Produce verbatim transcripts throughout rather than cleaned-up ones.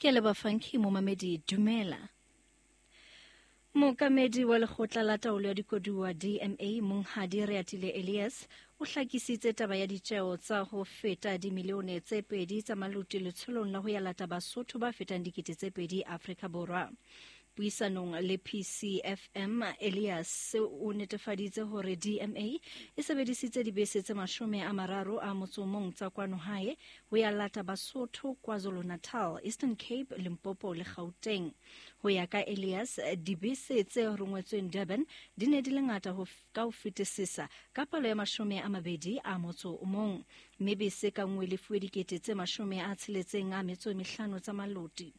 Ke a leboha Funky momamedi dumela. Mookamedi wa lekgotla la taolo ya dikoduwa D M A Monghadi Reatile Elias o hlakisitse taba ya ditjeo tsa ho feta dimilione tse pedi tsa maluti letsholong la ho ya lata Basotho ba fetang dikete tse pedi Afrika Borwa. Puisanong le P C F M, Elias o netefaditse hore D M A e sebedisitse dibese tse mashome a mararo a motso o mong tsa kwano hae ho ya lata Basotho KwaZulu-Natal, Eastern Cape, Limpopo le Gauteng. Ho ya ka Elias, dibese tse rongwetsweng Durban di ne di le ngata ho ka ho fetisisa ka palo ya mashome a mabedi a motso o mong, mme bese ka nngwe le fuwe dikete tse mashome a tsheletseng a metso e mehlano tsa maloti.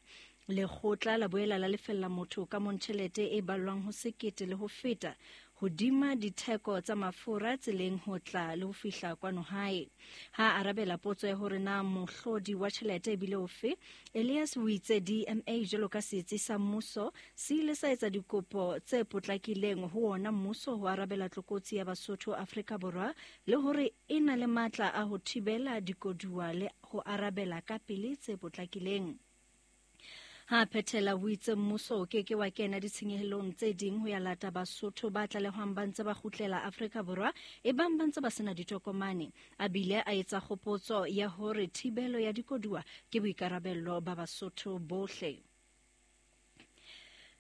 Lekgotla la boela la lefella motho ka mong tjhelete e ballwang ho sekete le ho feta hodima ditheko tsa mafura tseleng ho tla le ho fihla kwano hae. Ha arabela potso ya hore na mohlodi wa tjhelete ebile ofe, Elias o itse D M A jwalo ka setsi sa mmuso se ile sa etsa dikopo tse potlakileng ho ona mmuso ho arabela tlokotsi ya Basotho Afrika Borwa le hore e na le matla a ho thibela dikoduwa le ho arabela ka pele tse potlakileng. Ha phethela o itse mmuso o keke wa kena ditshenyehelong tse ding ho ya lata Basotho ba tlalehwang ba ntse ba kgutlela Afrika Borwa e bang ba ntse ba sena ditokomane. A bile a etsa kgopotso ya hore thibelo ya dikoduwa ke boikarabello ba Basotho bohle.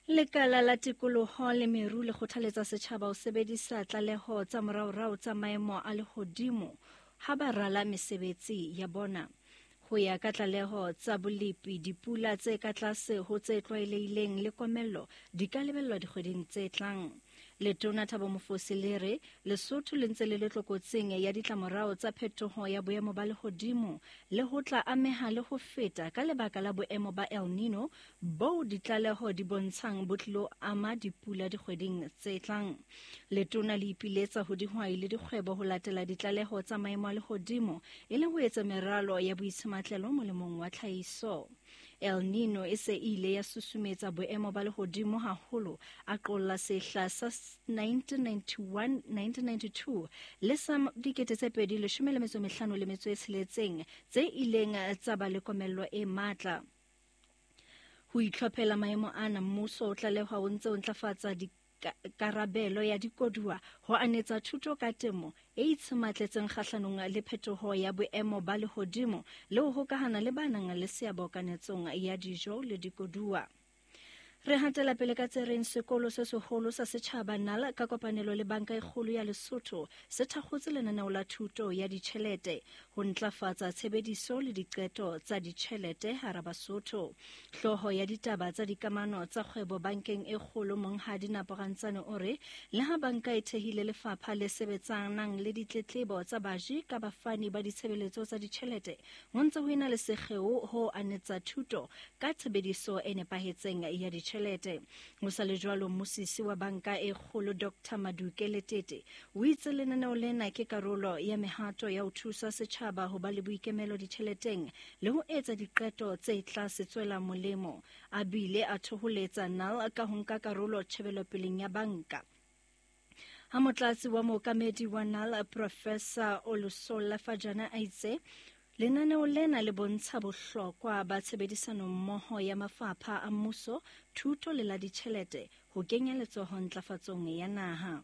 Lekala la tikoloho le meru le kgothaletsa setjhaba ho sebedisa tlaleho tsa moraorao tsa maemo a lehodimo ha ba rala mesebetsi ya bona. Ho ya ka tlaleho tsa bolepi, dipula tse ka tlase ho tse tlwaelehileng le komello di ka lebellwa dikgweding tse tlang. Letona Thabo Mofosi le re Lesotho le ntse le le tlokotsing ya ditlamorao tsa phetoho ya boemo ba lehodimo le ho tla ameha le ho feta ka lebaka la boemo ba El Nino bo ditlaleho di bontshang bo tlilo ama dipula dikgweding tse tlang. Letona le ipiletsa ho dihwai le dikgwebo ho latela ditlaleho tsa maemo a lehodimo e le ho etsa meralo ya boitshimatlelo molemong wa tlhahiso. El Nino e se ile ya susumetsa boemo ba lehodimo haholo, a qolla sehla sa nineteen ninety-one nineteen ninety-two le sa dikete tse pedi leshome le metso e mehlano le metso e tsheletseng tse ileng tsa ba le komello e matla. Ho itlhophela maemo ana, mmuso o tlalehwa o ntse o ntlafatsa karabelo ya dikoduwa ho anetsa thuto ka temo e itshimatletseng kgahlanong le phetoho ya boemo ba lehodimo le ho hokahana le ba nang le seabo kanetsong ya dijo le dikoduwa. Re hatela pele ka tse reng sekolo se seholo sa setjhaba Nala ka kopanelo le Banka e Kgolo ya Lesotho se thakgotse lenaneo la thuto ya ditjhelete ho ntlafatsa tshebediso le diqeto tsa ditjhelete hara Basotho. Hlooho ya ditaba tsa dikamano tsa kgwebo bankeng e kgolo Monghadi Naporantsane o re le ha banka e thehile lefapha le sebetsanang le ditletlebo tsa baji ka bafani ba ditshebeletso tsa ditjhelete, ho ntse ho ena le sekgeo ho anetsa thuto ka tshebediso e nepahetseng ya ditjhelete. Ho sa le jwalo, mmusisi wa banka e kgolo Doctor Maduke Letete o itse lenaneo lena ke karolo ya mehato ya ho thusa setjhaba ho ba le boikemelo ditjheleteng le ho etsa diqeto tse tla se tswela molemo. A bile a thoholetsa N A L ka ho nka karolo tjhebelopeleng ya banka. Ha motlatsi wa mookamedi wa N A L Professor Olusola Fajana a itse lenaneo lena le bontsha bohlokwa ba tshebedisano mmoho ya mafapha a mmuso, thuto le la ditjhelete ho kenya letsoho ntlafatsong ya naha.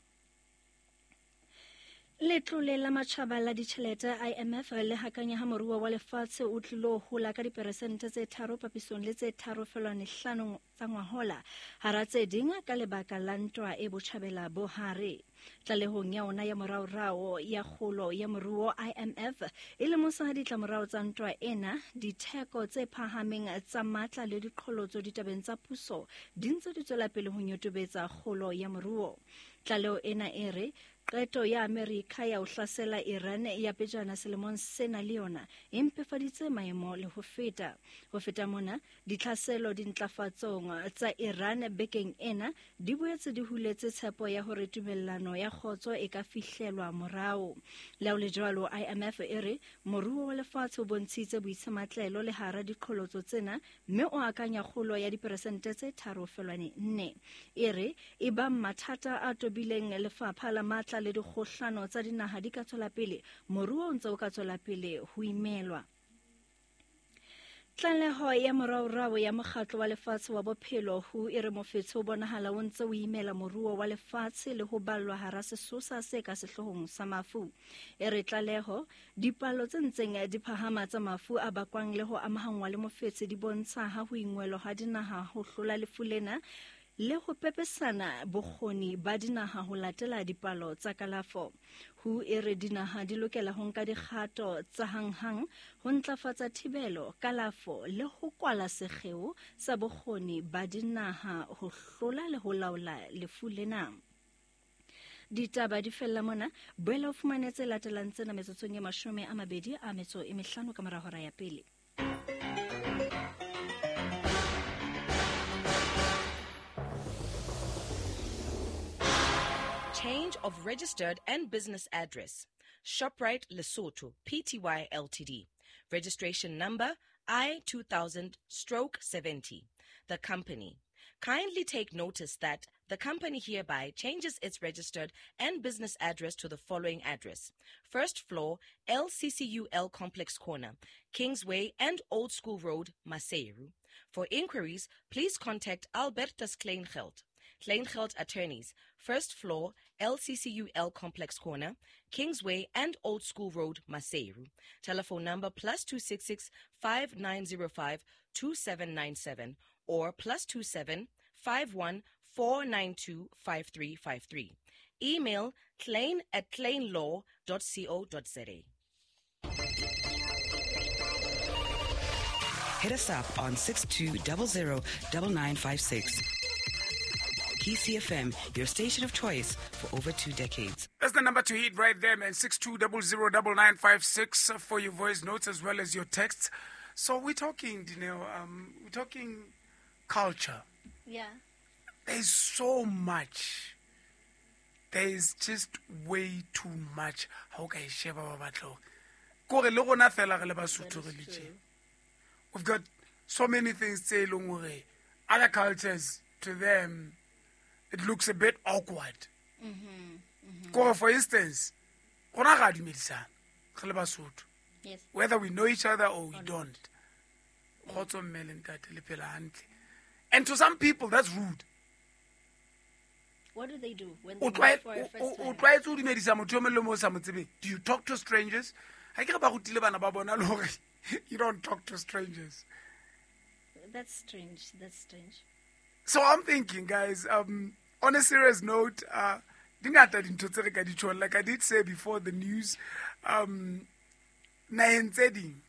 Letlole la matjhaba la ditjhelete I M F le hakanya ha moruo wa lefatshe o tlilo hola ka diperesente tse tharo papisong le tse tharo feelwane hlano tsa ngwahola, hara tse ding ka lebaka la ntwa e botjhabela bo hare. Tlalehong ya ona ya moraorao ya kgolo ya moruo, I M F e lemosa ha ditlamorao tsa ntwa ena, ditheko tse phahameng tsa matla le diqholotso ditabeng tsa puso di ntse di tswela pele ho nyotobetsa kgolo ya moruo. Tlaleho ena e re qeto ya Amerika ya ho hlasela Iran ya pejana selemong sena le yona e mpefaditse maemo le ho feta. Ho feta mona, ditlhaselo dintlafatsong tsa Iran bekeng ena di boetse di huletse tshepo ya hore tumellano ya kgotso e ka fihlelwa morao. Le ho le jwalo, I M F e re moruo wa lefatshe o bontshitse boitsematlelo le hara diqholotso tsena mme o akanya kgolo ya diperesente tse tharo feelwane nne. E re e bang mathata a tobileng lefapha la matla le dikgohlano tsa dinaha di ka tswela pele, moruo o ntse o ka tswela pele ho imelwa. Tlaleho ya moraorao ya mokgatlo wa lefatshe wa bophelo ho e re mofetshe o bonahala o ntse o imela moruo wa lefatshe le ho ballwa hara sesosa se ka sehloohong sa mafu. E re tlaleho dipalo tse ntseng di phahama tsa mafu a bakwang le ho amahanngwa le mofetshe di bontsha ha ho ingwelo ha dinaha ho hlola lefu lena le ho pepesana bokgoni ba dinaha ho latela dipalo tsa kalafo. Ho e re dinaha di lokela ho nka dikgato tsa hanghang ho ntlafatsa thibelo, kalafo le ho kwala sekgeo sa bokgoni ba dinaha ho hlola le ho laola lefu lena. Ditaba di fella mona, boela o fumane tse latelang tsena metsotsong e mashome a mabedi a metso e mehlano ka mora hora ya pele. Change of registered and business address. ShopRite Lesotho, P T Y L T D. Registration number I two thousand stroke seventy. The company. Kindly take notice that the company hereby changes its registered and business address to the following address. First floor, L C C U L Complex Corner, Kingsway and Old School Road, Maseru. For inquiries, please contact Albertus Kleingeld. Kleingeld Attorneys, first floor, L C C U L Complex Corner, Kingsway and Old School Road, Maseru. Telephone number plus two six six, five nine zero five, two seven nine seven or plus two seven, five one, four nine two, five three five three. Email klein at kleinlaw dot co dot za. Hit us up on six two zero zero nine nine five six. P C F M, your station of choice for over two decades. That's the number to hit right there, man. six two zero zero nine nine five six for your voice notes as well as your texts. So we're talking, Dineo, um, we're talking culture. Yeah. There's so much. There's just way too much. How can I share about We've got so many things to say. Other cultures, to them, it looks a bit awkward. Mm-hmm, mm-hmm. For instance, yes. Whether we know each other or we or don't. And to some people, that's rude. What do they do when they meet for a first time? Do you talk to strangers? You don't talk to strangers. That's strange. That's strange. So I'm thinking, guys, um, on a serious note, uh, like I did say before the news, um, naheng tse ding,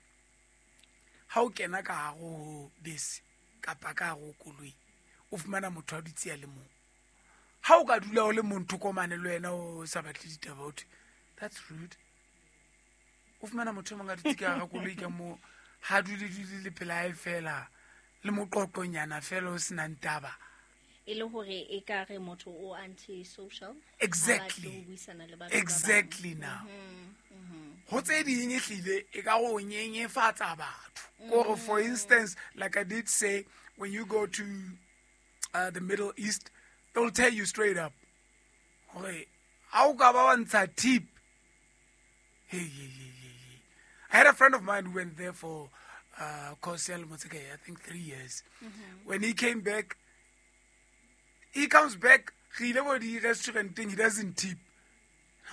ha o kena ka hare ho bese kapa ka hare ho koloi, o fumana motho a dutse a le mong. Ha o ka dula o le mong thoko mane le wena o sa batle ditaba, o thwe, that's rude. O fumana motho e mong a dutse ka hara koloi ka moo, ha dule dule le pela hae fela, le moqoqonyana fela o senang taba. E le hore e ka re motho o anti-social. Exactly. Exactly now. Ho tse ding ehlile e ka go nyenyefatsa batho. Kore for instance, like I did say, when you go to uh, the Middle East, they'll tell you straight up, hore ha o ka ba wa ntsha tip. Hey, hey, hey, hey. I had a friend of mine who went there for uh, course, I think three years. Mm-hmm. When he came back, he comes back, he restaurant thing, he doesn't tip.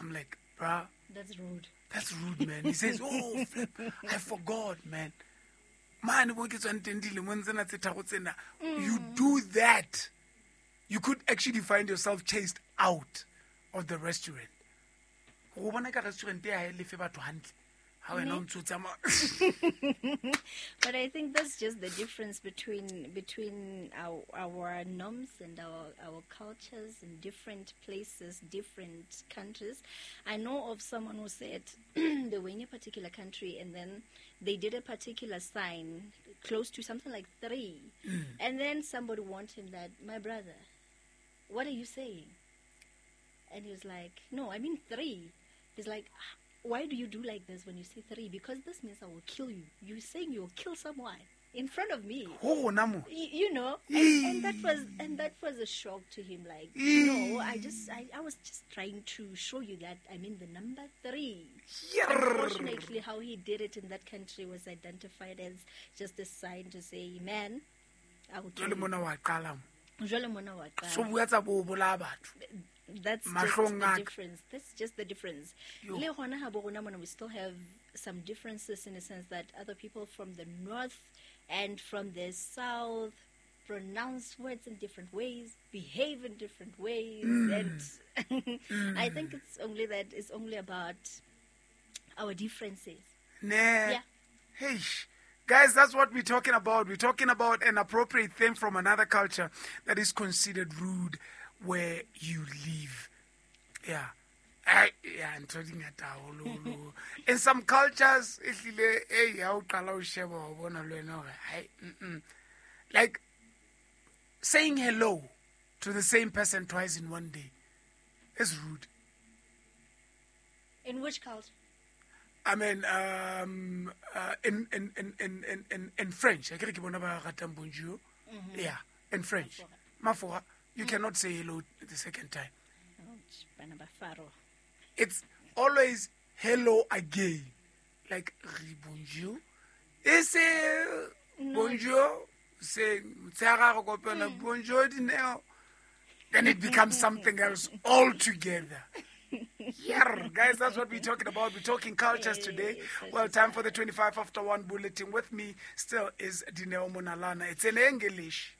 I'm like, bruh. That's rude. That's rude, man. He says, oh, flip, I forgot, man. Man, you do that, you could actually find yourself chased out of the restaurant. But I think that's just the difference between between our, our norms and our, our cultures in different places, different countries. I know of someone who said they were in a particular country and then they did a particular sign close to something like three. Mm. And then somebody warned him that, my brother, what are you saying? And he was like, no, I mean three. He's like, why do you do like this when you say three? Because this means I will kill you. You're saying you will kill someone In front of me. Ho rona mo. Y- you know, and, and that was and that was a shock to him. Like, no, I just I, I was just trying to show you that I'm in the number three. Yerr. Unfortunately, how he did it in that country was identified as just a sign to say, man, I will kill Jwale you. mona wa qala mo. Jwale mona wa qala. So bua tsa bo bolaya batho. That's just Mahlong the a ka. difference. That's just the difference. Yo. Le hona ha bo rona mona, we still have some differences in the sense that other people from the north and from the south pronounce words in different ways, behave in different ways, Mm. and I think it's only that it's only about our differences. Ne. Yeah. Hey, guys, that's what we're talking about. We're talking about an appropriate thing from another culture that is considered rude where you live. Yeah. I, yeah, ntho di ngata haholo. In some cultures, ehlile, eh, ha o qala o sheba wa bona le wena hore, hai, mm-mm. Like saying hello to the same person twice in one day is rude. In which culture? I mean, um, uh, in, in, in, in, in, in, in French, I ke bona ba ratang bonjour. Yeah, in French. Mafora, you cannot say hello the second time. Ouch, bana ba faro. It's always hello again. Like, re bonjour. E se bonjour, se motshehare re kopana, bonjour Dineo. Then it becomes something else altogether. Yeah, guys, that's what we're talking about. We're talking cultures today. Well, time for the twenty-five after one bulletin. With me still is Dineo Monalana. It's in English.